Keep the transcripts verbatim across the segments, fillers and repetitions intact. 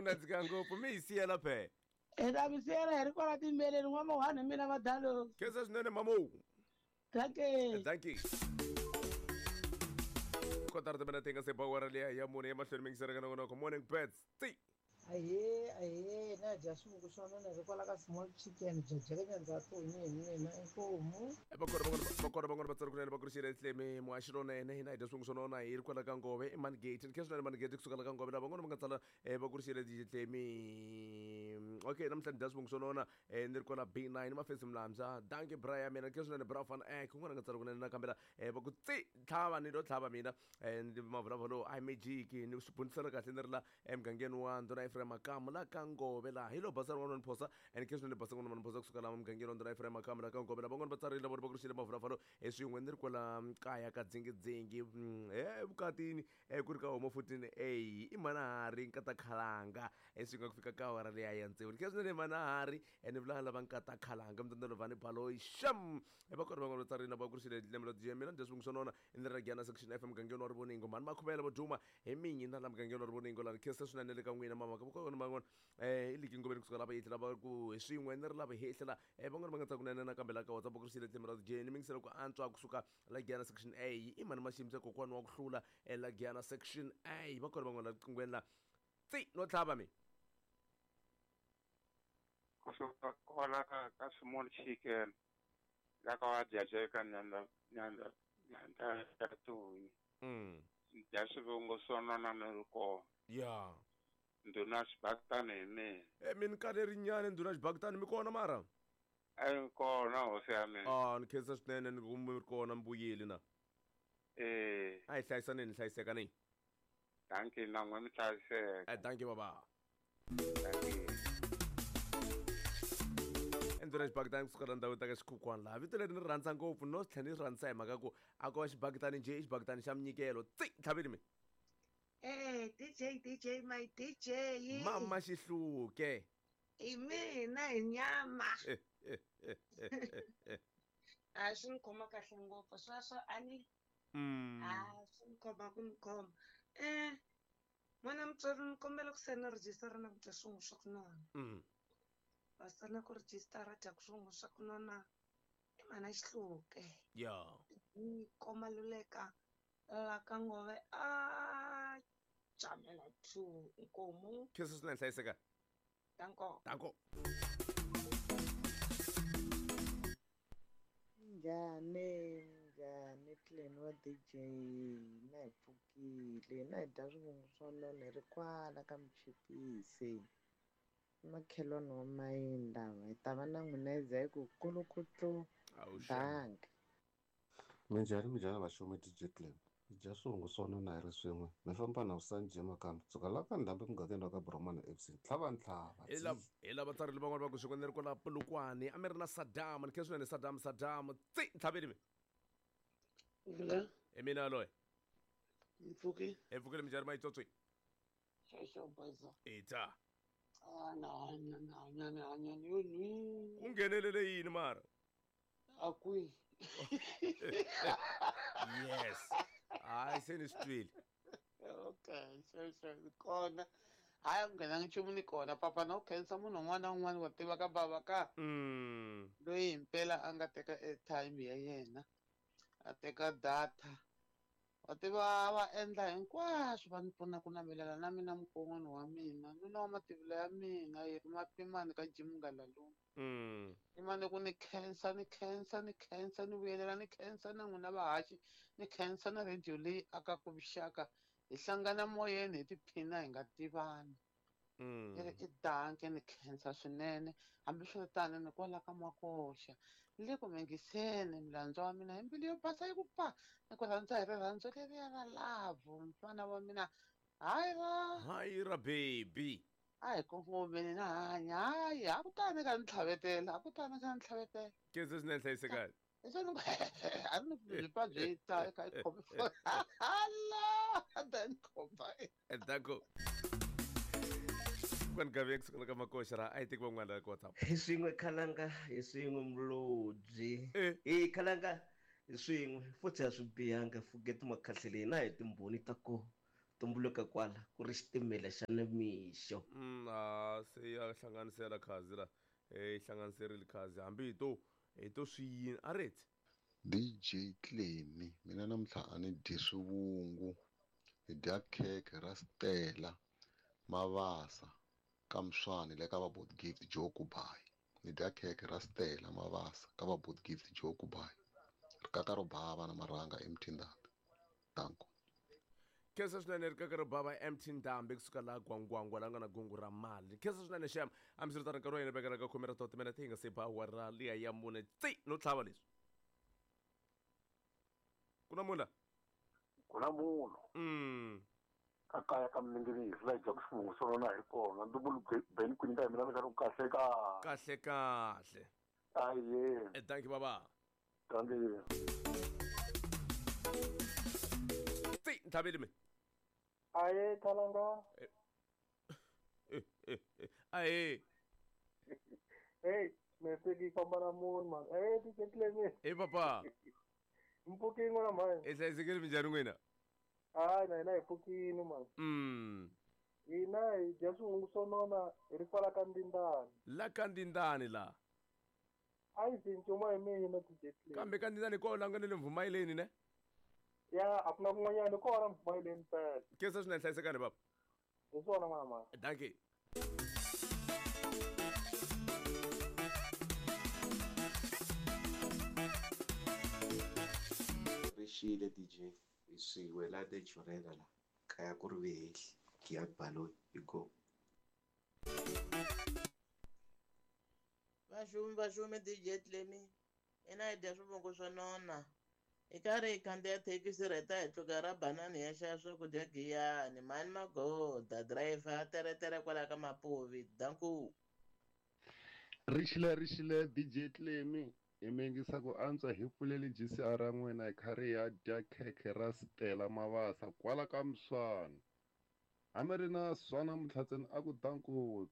Nandzika ngopfu mi hi siyela phe. Hi ta mi siyela hi ri kwala timbeleni n'wamahwani hi mina madalo. Khensa swinene mamo. Dankie. Dankie. Kotara timinete nga se ba awara liya ya mune emahlweni mi yingisela ka nongonoko Morning Birds. Ti. Ahee, ahee, na dya swivungu swa nona hi kwala ka small chicken bya jekenya ndza toni hi mina inkomu. Vakona van'wana vakona van'wana vatsari kunene va kurixile tlemi muhaxi lonene hina hi dya swivungu swa nona hi ri kwala ka Ngove i Mangate ni khensa swinene Mangate kusuka la ka Ngove lava van'wana va nga tsala va kurixile tlemi. Okay, namuntlha ni dya swivungu swa nona ni ri kwala B nine mafesi Mlamza. Dankie bra ya mina ni khensa swinene bra van ek un'wana nga tsala kunene nakambe la va ku tsi tlhava ni lo tlhava mina ni mavulavula I magic ni swi bunisela kahle ni ri la emugangeni wa Ndhuna Ephraim Makamu la ka Ngove la hi lo basa rin'wana phosa and khensa swinene basa rin'wana phosa kusuka la mugangeni wa Ndhuna Ephraim Makamu la ka Ngove la van'wana va tsarile vona va kurixile mavulavula hi swin'we ni ri kwala kaya ka dzingidzingi e vukatini ku ri ka homo fourteen A i manahari nkata khalanga eswi nga ku fika ka awara liya ya tsevu ni khensa swinene manahari ene vula lava nkata khalanga mtandalo vani baloyi sham va kona van'wana va tsarile va kurixile lembe la mina ni dya swivungu swa nona ni ri Gyana section F mugangeni wa Rivoningo mhani Makhuvela vo duma hi mingi na la mugangeni wa Rivoningo la ni khensa swinene le ka n'wina mama ka van'wana eh i liki ngomeni kusuka lava yehla lava ku hi swin'we ni ri lava hehla la eh van'wana va nga tsaka kunene nakambe la ka WhatsApp ku ri tlhelo ra Jane mi ngisela ku antswa kusuka la Gyana section A i mani Maximisa kokwani wa ku hlula la Gyana section A va kona van'wana la qingweni la tsi no tlhava mi kusuka kwala ka ka small chicken la ka wa jajeka nyanda nyanda nyanda ya tuni mm dya swivungu swo nona ni ri kona ya Ndhuna Xibakitani hi mina. E mi ni karherinyana Ndhuna Xibakitani mi kona mara? A ni kona hosi ya mina. Ah ni khensa swinene ni ku mi ri kona mi vuyile na. Eh. A hi hlayisaneni ni hlayiseka ni. Dankie na n'we mi hlayiseka. Eh dankie baba. Dankie. Ndhuna Xibakitani kusuka la ndhawini ta ka Xikhukhwana laha vito leri ni ri rhandza ngopfu no tlhela ni ri rhandzisa hi mhaka ku a ko va xibakitani njhe i xibakitani xa minyikelo tsi tlhaveni mi. Eh D J D J my D J. Mama Xihluke. I mina hi nyama. A swi ni khoma kahle ngopfu sweswo a ni mm. A swi ni khoma ku ni khoma. Eh n'wana mutswari ni kombela ku se ni rejistara na ku dya swin'we swa ku nona. Mm. Va sala ku rejistara dya ku swin'we swa ku nona i mhana Xihluke. Yeah. Ni koma luleka la ka Ngove a jamela two nkomu. Khensa swinene hlayiseka. Danko. Danko. Njhani njhani clan wa D J na hi pfukile na hi dya swivungu swa nona hi ri kwala ka Muchipisi makhelwani wa Mayindava hi ta va na n'wina hi za hi ku kulukutlu bank. Minjhani minjhani vaxumi D J Clem hi dya swivungu swa nona hi ri swin'we mi famba na Vusanji Makamba kusuka la ka Ndhambi mugangeni wa ka Bromana F C tlhava ntlhava hi lava hi lava tsarile van'wana va ku swin'we ni ri kwala Polokwane a mi ri na Saddam ni khensa swinene Saddam Saddam tsi ntlhaveni mi Vula hi mina yaloye mpfuki hi pfukile minjhani Mayitswotswi xexo boza ita a na hanya na hanya na hanya ni yo nwi ku nghenelele yini mara a kwihi yes hayi se ni swi twile. Okay xexo ni kona hayi a ku nghenanga nchumu ni kona papa na u khensa munhu un'wana na un'wana wa tiva ka bava ka mm. loyi himpela a nga teka airtime ya yena a teka data wa tiva va endla hinkwaswo va ni pfuna ku navelela na mina mukon'wana wa mina nuna wa mativula ya mina yi ri mapimani ka Jimungala lomu mm. ni mane ku ni khensa ni khensa ni khensa ni vuyelela ni khensa na n'wina vahaxi ni khensa na radio leyi akaka vuxaka hi hlangana moyeni hi tiphina hi nga tivani Mm. Ni ri i danke ni khensa swinene hambiswiritano ni kwala ka Makoxa ni le ku mingiseni milandzu wa mina hi mbilu yo basa yi ku pa ni ku rhandza hi rirhandzu leriya ra love mfana wa mina hayi ra hayi ra baby a hi kongomeni na hanya hayi a ku tani ka ni tlhavetela a ku tani ka ni tlhavetela khensa swinene hlayisekani Leswi ni a ri ni byi pfa byi ta eka i khome hala then khomba danko kwani gave kusuka ka Makoxa ra a yi teki van'wana la ka WhatsApp hi swin'we khalanga hi swin'we mulobyi Eh. hi khalanga hi swin'we futhi a swi bihanga forget makhahleleni na hi timbhoni ta ko Tumbuluka kwala ku ri xitimela xa nimixo. Mm, a se ya hlanganisela khazi la eh hlanganiserile khazi hambi hi to hi to swi yini a ri D J Clemi mina namuntlha a ni dyi swivungu hi dya khekhe ra Stella Mavasa ka Mswani le ka va Board Gift Joe Kubai ni dya khekhe ra Stella Mavasa ka va Board Gift Joe Kubai rikaka ro bava na marhanga emtindambi danko. Khensa swinene rikaka ro bava emtindambi kusuka laha Gwangwangwa la nga na gungu ra mali. Khensa swinene xem hambiswiritano nkarhi wa hina vekela ka khume ra to timinete hi nga se ba awara liya ya mune tsi no tlhava leswi ku na munhu la ku na munhu mm ka kaya ka miningirizi la dya swivungu swo nona hi kona ndumbulu beni ku nyika hi mina mi kahle ka kahle kahle aye eh thank you baba thank you tsi ntlhaveli mi aye thalanga eh eh aye hey meseki famba na munhu man eh D J Clemi eh papa mpfukini n'wana mhani i hlayisekile minjhani n'wina hayi na hina hi pfukini man mm hina hi dya swivungu swo nona hi ri kwala ka Ndindani la ka Ndindani la a yi cincuma hi mina D J Clemi kambe ka Ndindani kona la nga ni le Mvumayeleni ne ya a ku na kun'wanyana kona Mvumayeleni mpela khensa swinene hlayisekani baba hi swona n'wana mhani dankie. Rixile D J hi swin'we la de Jurela la kaya ku ri vehehli Giyani Baloyi hi go. Vaxumi vaxumi D J Clemi ina hi dya swivungu swo nona hi karhi hi khandziya thekisi rheta hi tluka ra banani ya xava swakudya Giyani mhani magoda driver teretere kwala ka Mapuvi danku. Rixile rixile D J Clemi hi mi yingisa ku antswa hi pfuleli G C R ra n'wina hi karhi ya dya khekhe ra Stella Mavasa kwala ka Mswani hambi ri na swa namuntlha ntsena a ku danku.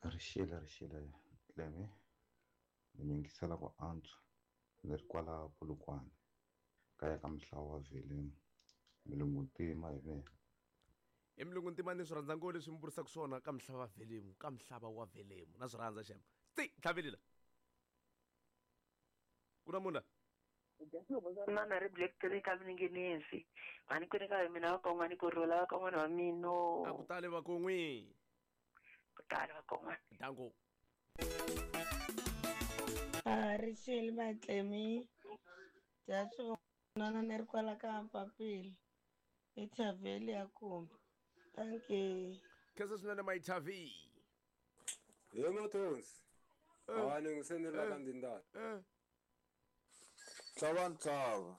Rixile rixile Clemi ni mi yingisela ku antswa ni ri kwala Polokwane kaya ka Mhlawa wa Velemu milungu ntima hi mina. I milungu ntima ni swi rhandza ngopfu leswi mi vurisaka swona ka Mhlava Velemu ka Mhlava wa Velemu na swi rhandza xem tsi tlhavelela ku na munhu la nona ri Black Three ka Mininginizi mhani ku nyika hi mina vakon'wani ku rhula vakon'wana va mino a ku tali vakon'wi ku tali vakon'wana danko. A rixile Matlemi dya swivungu ni ri kwala ka Mpapila i Thaveli ya kumbe thank you. Khensa swinene Maithavi. He Mathonsi hawa ni n'wi sendela ka Ndindani Tlhava ntlhava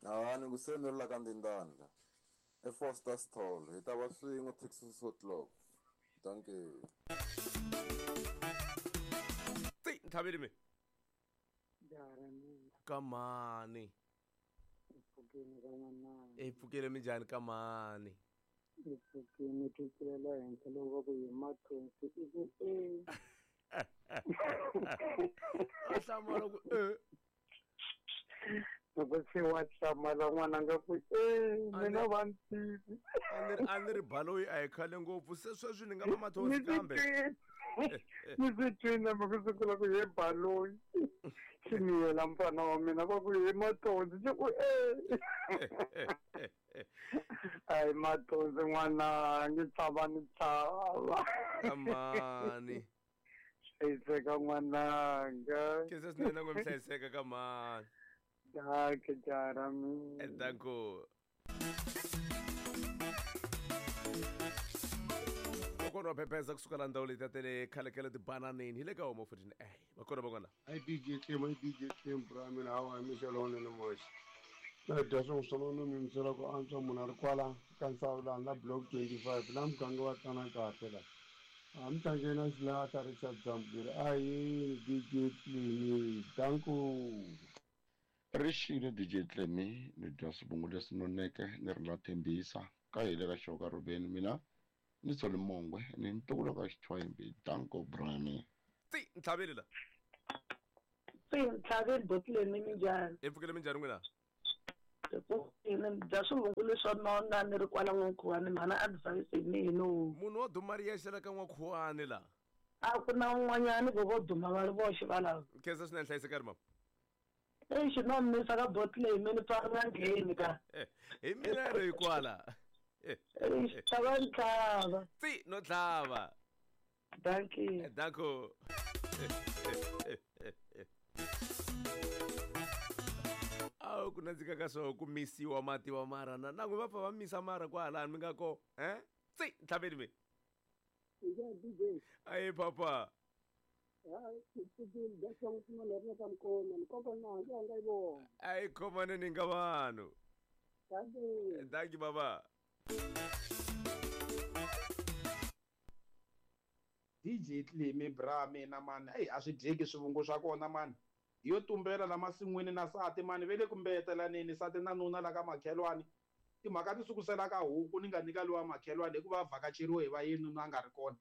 hawa ni ku sendela ka Ndindani la e Foster Stall hi ta va swin'we six o'clock thank you. Tsi ntlhaveli mi Dara mina kamani mpfukeni ka n'wananga i pfukile minjhani kamani i pfukini tlukelela henhla loko va ku hi Mathonsi i ku e a hlamala ku e loko se wa hlamala n'wananga ku e mina va ni tivi a ni ri Baloyi a hi khale ngopfu se sweswi ni nga va Mathonsi kambe ni swi twini hambi ku sungula ku he Baloyi xi miyela mfana wa mina va ku he Mathonsi xi ku e ayi Mathonsi n'wananga tshava ni tshava kamani hlayiseka n'wananga khensa swinene na n'we mi hlayiseka kamani danke jara mina danko. Kokwana wa phepeza kusuka la ndhawu leti ta le khale khale tibananeni hi le ka home fourteen A vakona vakona ai D J Clem ai D J Clem bra mina hawa hi mixo lowunene moxa na dya swin'we swa nona mi yingisela ku antswa munhu a ri kwala ka Nsawulani la block twenty five la muganga wa tana kahle la a mi tlangeni na xilahla Richard Zambiri ahini D J Clemi danko. Rixile D J Clemi ni dya swivungu leswi noneke ni ri la Thembisa ka hi le ka Xoka Rubeni mina ni Soli Mongwe ni ntukulu ka Xichwayimbi danko brami. Tsi ntlhaveli la Tsi ntlhaveli botleni minjhani i pfukile minjhani n'wina Ni dya swivungu leswo nona ni ri kwala N'wankhuwani mhana advice hi mina. Munhu wo duma ri yexe la ka N'wankhuwani la. A ku na un'wanyani ku vo duma va ri voxe valava. Khensa swinene hlayisekani mama. Exi no misa ka boti leyi mi ni pfa ri nga ngheni ka. Hi mina ri kwala. Exi tlhava ni tlhava. Tsi no tlhava. Dankie. Danko. Awu ku nandzika ka swo ku misiwa mati wa mara na na n'wi va pfa va misa mara kwalani mi nga ko eh tsi ntlhaveni mi. Ayi papa. Ayi khomane ni nga vanhu. Dankie baba. D J Tlemi bra mina mani eyi a swi dyeki swivungu swa kona mani yo tumbela la masin'wini na sati mani ve le ku mbeyetelaneni sati na nuna la ka makhelwani timhaka ti sukusela ka huku ni nga nyika lowa makhelwani hikuva a vhakacheriwe hi va yini nuna a nga ri kona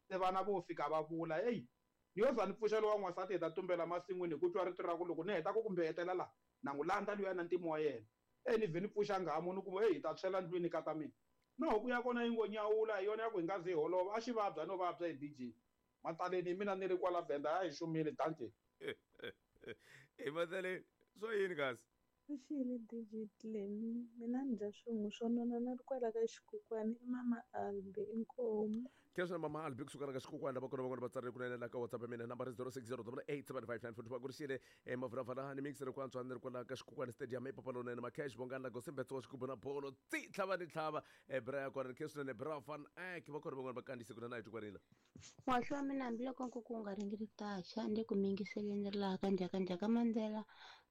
se vana vo fika va vula eyi ni yo za ni pfuxa lowa n'wansati hi ta tumbela masin'wini hi ku twa rito ra ku loko ni heta ku ku mbeyetela la na n'wi landza luya na ntimo wa yena eyi ni vhe ni pfuxa nghamu ni kuma eyi hi ta tshwela ndlwini ka ta mina na huku ya kona yi ngo nyawula hi yona ya ku hi nga ze hi holova a xi vabya no vabya hi D J mataleni hi mina ni ri kwala Venda a hi xumile dankie. Hi mataleni swo yini kasi Xile D J Tlemi mina ni dya swivungu swo nona na ri kwala ka xikukwani i mama Albi inkomu. Khensa mama Albi kusuka la ka xikukwani lava kona van'wana va tsarile kunene la ka WhatsApp ya mina nambara zero six zero double eight seven five nine four two va ku rixile mavulavala ni mixere ku antswa ni ri kwala ka xikukwani stadium epapalonene macash bongani la gosimbetso wa xigubu na bolo tsi tlhava ni tlhava bra ya kona ni khensa swinene bra van ek va kona van'wana va kandziyise kunene a hi tikwanile. Muhaxi wa mina hambiloko nkuku wu nga ringiritaxa ni le ku mingiseleni ri laha ka njhakanjhaka Mandela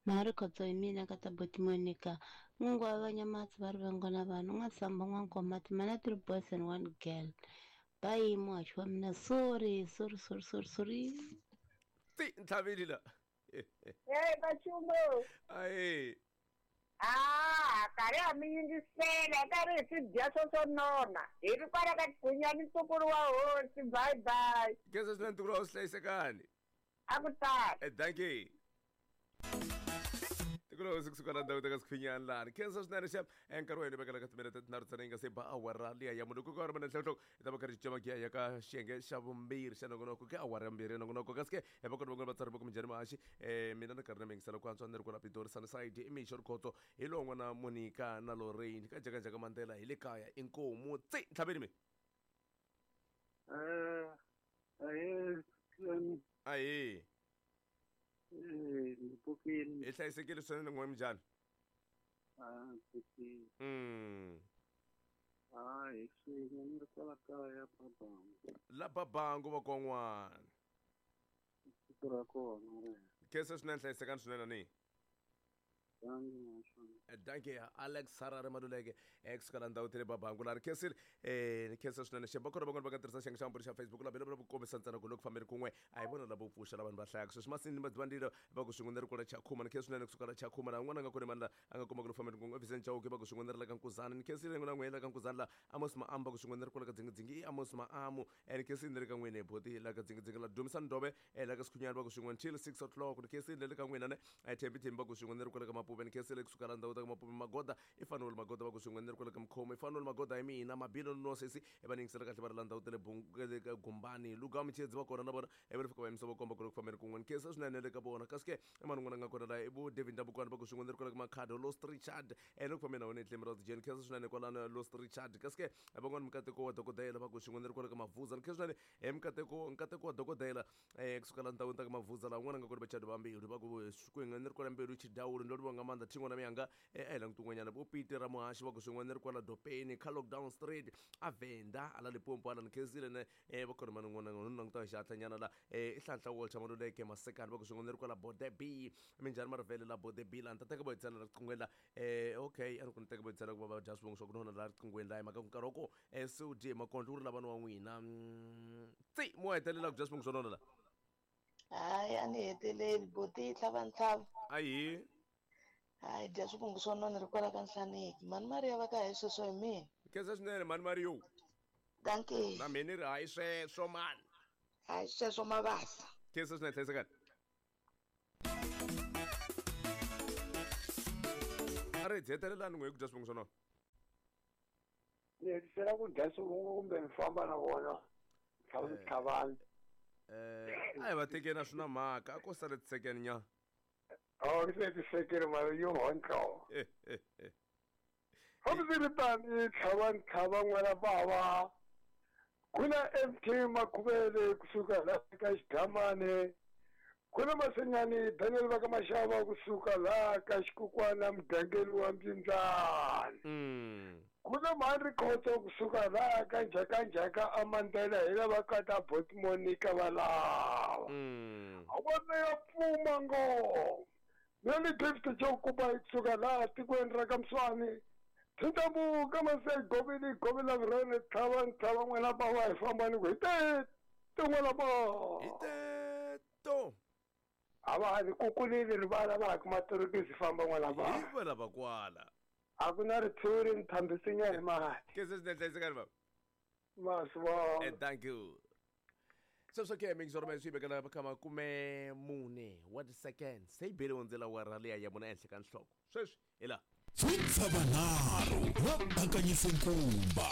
mhari khotso hi mina ka ta boti Monica n'wingi wa vanyamatsi va ri vangona vanhu n'wansamba n'wankomati mana three boys and one girl bayi muhaxi wa mina sorry sorry sorry sorry sorry. Tsi ntlhaveli la. Hey Bachumo. Ayi. Ah, karhi a mi yingisela karhi hi swi dya swo swo nona hi ri kwala ka Gunyani ntukulu wa hosi bye bye. Khensa swinene ntukulu wa hosi hlayisekani. A ku tali. Dankie. Tikulo kusuka la ndhawu ta ka Sikhwinyani lani khensa swinene xa nkarhi wa hina vekela ka timinete tinharhu ntsena yi nga se ba awara liya ya munhu ku ka ri mana nhlonhloko hi ta va karhi cema ya ka xiyenge xa vumbirhi xa nongonoko ke awara ya mbirhi ya nongonoko kasi ke hi va kona van'wana vatsari va ku minjhani mahaxi um mina ni karhi na mingisela ku antswa ni ri kwala Pitori Sunnyside i Mixo Rikhotso hi lowu n'wana Monica na Lorraine ka Njhakanjhaka Mandela hi le kaya inkomu tsi ntlhaveni mi. Eh ahe ahe eh ni pfukile. Hi hlayisekile swinene n'we minjhani? Ah pfukile. Mm. Ah hi swin'we ni ri kwala kaya Babangu. La Babangu va kon'wana. Siku ra kona re. Khensa swinene hlayisekani swinene ni. Dankie Alex Harare Maluleke kusuka la ndhawu tele Babangu la ri khensile eh ni khensa swinene xemba kona van'wana va nga tirhisa xiyenge xa mbirhi xa Facebook la bela ku kombisa ntsena ku loko fambeni kun'we a hi vona lavo pfuxa la vanhu va hlayaka sweswi masini madzivandile va ku swin'we ni ri kwala Chakhuma ni khensa swinene kusuka la Chakhuma la un'wana a nga kona mani la a nga kuma ku loko fambeni kun'we Vincent Chauke va ku swin'we ni ri la ka Nkuzana ni khensile n'wina n'we la ka Nkuzana la Amos Maamu va ku swin'we ni ri kwala ka Dzingidzingi i Amos Maamu ni khensile ni ri ka n'wina boti la ka Dzingidzingi la Dumisani Ndobe la ka Sikhunyani va ku swin'we until six o'clock ni khensile le ka n'wina ne Thembi Thembi va ku swin'we ni ri kwala ka Mapuve ni khensile kusuka la ndhawu ta ka Mapuve Magoda i Fanuel Magoda va ku swin'we ni ri kwala ka Mkhomo i Fanuel Magoda hi mina Mabilo no sesi va ni yingisela kahle va ri la ndhawu ta le ka Gumbani Luga Michedzi va kona na vona va ri fika va yimisa va komba ku loko fambeni kun'we ni khensa swinene le ka vona kasi ke i mani n'wana nga kona la i vo David Ndabukwana va ku swin'we ni ri kwala ka Makhado Lost Richard e loko fambeni na wena etlemi ra Jane khensa swinene kwalano Lost Richard kasi ke van'wana mikateko wa dokodela va ku swin'we ni ri kwala ka Mavuza ni khensa swinene hi mikateko nkateko wa dokodela um kusuka la ndhawini ta ka Mavuza la un'wana nga kona vachadi va mbilu va ku swin'we ni ri kwala Mbilu Chidawulu ndo livonga maanḓa thingo na miyanga a hi languti un'wanyana vo Peter Ramuhaxi va ku swin'we ni ri kwala Dopeni ka Lockdown Street a Venda ala Limpopo ala ni khensile ne va kona mani n'wana ni languta xihatlanyana la i Hlanhla Walter Maluleke Masekani va ku swin'we ni ri kwala Bode B minjhani Marivele la Bode B la ni ta teka vo hi tsala riqinghweni la okay a ni ku ni teka vo hi tsala ku va va dya swivongo swa ku nona la riqinghweni la hi mhaka ku nkarhi wa ko se u dye makondlo wu ri lavani wa n'wina tsi mo hetelela ku dya swivongo swa nona la. Hayi a ni heteleli boti tlhava ntlhava. Ayi hayi dya swivungu swo nona ri kwala ka Nhlaneki mani Maria va ka hi sweswo hi mina. Khensa swinene mani Mario. Dankie. Na mina ni ri hayi sweswo mani. Hayi sweswo mavasa. Khensa swinene hlayisekani. Maredzi hetelelani n'we hi ku dya swivungu swo nona. Ni hetisela ku dya swivungu kumbe ni famba na vona tlhavani. Eh, a hi va tekeni a swi na mhaka a ko sale tisekeni nyana. Oh, ni se tisekeni mara yo hontlo. Hambiswiritano tlhavani tlhava n'wana bava ku na M K Makhuvele kusuka laha ka Xidamane, ku na Masenyani Daniel va ka Maxava kusuka laha ka Xikukwana mugangeni wa Mbindzani, ku na Mhani Khotso kusuka laha ka Njhakanjhaka Amandela hi lava ka ta Bot Monica valava a vona ya pfuma ngoma na ni Gift Jokuba kusuka laha tikweni ra ka Mswani. Tintambu ka Masai govili govila vrene tlhava tlhava n'wana bava hi famba ni ku hi te n'wana bava hi te to a va ha ni kukulile rivala va ha kuma torokisi famba n'wana bava hi va lava kwala a ku na ritshuri ni thambisinya hi mati ke se swinene hlayisekani bava masivona. Eh, thank you. Sweswo ke mixoro me swi vekela ka makume mune wa ti-seconds se yi bele hundzela wara liya ya mune ehenhla ka nhloko sweswi hi laha Tsutsavanharhu va bakanyise nkumba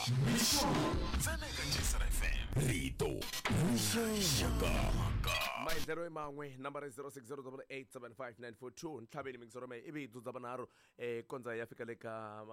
ntsena eka G C R F M rito rixaka. Maendlelo i man'we nambara i zero six zero double eight seven five nine four two ntlhaveni mixoro me ivi yi dzudza vanharhu eh kondza ya fika le ka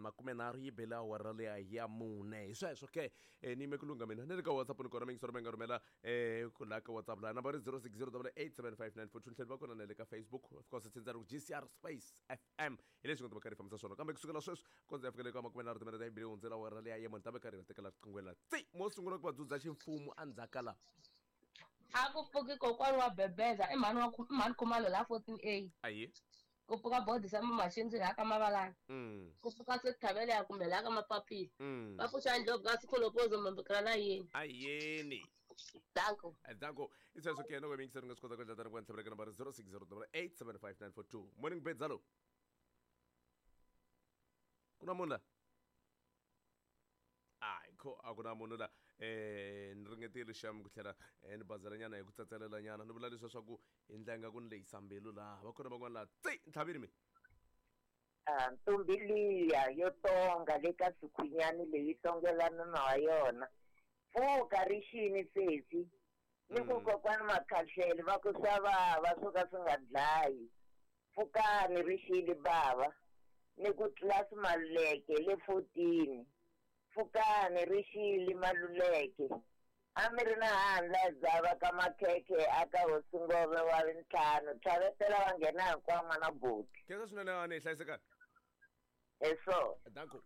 makumenharhu yi bela awara liya ya mune hi sweswo ke ni yime ku lungha mina ni le ka WhatsApp ni kona mixoro me nga rhumela eh ku laha ka WhatsApp laha nambara i zero six zero double eight seven five nine four two ntlhelo va kona na le ka Facebook of course tshindza ri ku G C R Space F M hi leswi nga ta va karhi hi fambisa swona kambe kusukela sweswi kondza ya fika le ka makumenharhu timinete yi bele hundzela awara liya ya mune ta va karhi va tekela riqingho la tsi mo sungula ku va dzudza ximfumo endzhaku ka laha a ku pfuki kokwani wa bebeza i mhani wa mhani Khumalo la fourteen A ayi ku pfuka bodi xa mamachindzi laha ka Mavalani mm ku pfuka Sithabele ya kumbe laha ka Mapapila mm va pfuxa ndlopfu ka Sikholopozo mambikira na yini ayeni danko danko i sweswo ke loko mi yingiseri nga swi kota ku endla tani ku ntlhavela ka nambara zero six zero double eight seven five nine four two morning bedzalo ku na munhu la hayi kho a ku na munhu la eh ni ringetile xam ku tlhela ni bazela nyana hi ku tsatselela nyana ni vula leswa swa ku hi ndlela nga ku ni lehisa mbilu laha va kona van'wana laha tsi ntlhavini mi a ntombi liya yo tonga le ka sikhwinyani leyi tongelana na yona pfuka ri xini sesi ni ku kokwani Makhahlele va ku swa vava swo ka swi nga dlayi pfukani ri xini bava ni ku tlilasi Maluleke le fourteen pfukani ri xili Maluleke a mi ri na handla dzava ka Makhekhe a ka hosi Ngove wa ntlhanu tlhavetela va nghena hinkwavo n'wana buti khensa swinene a ni hlayisekani eso danko.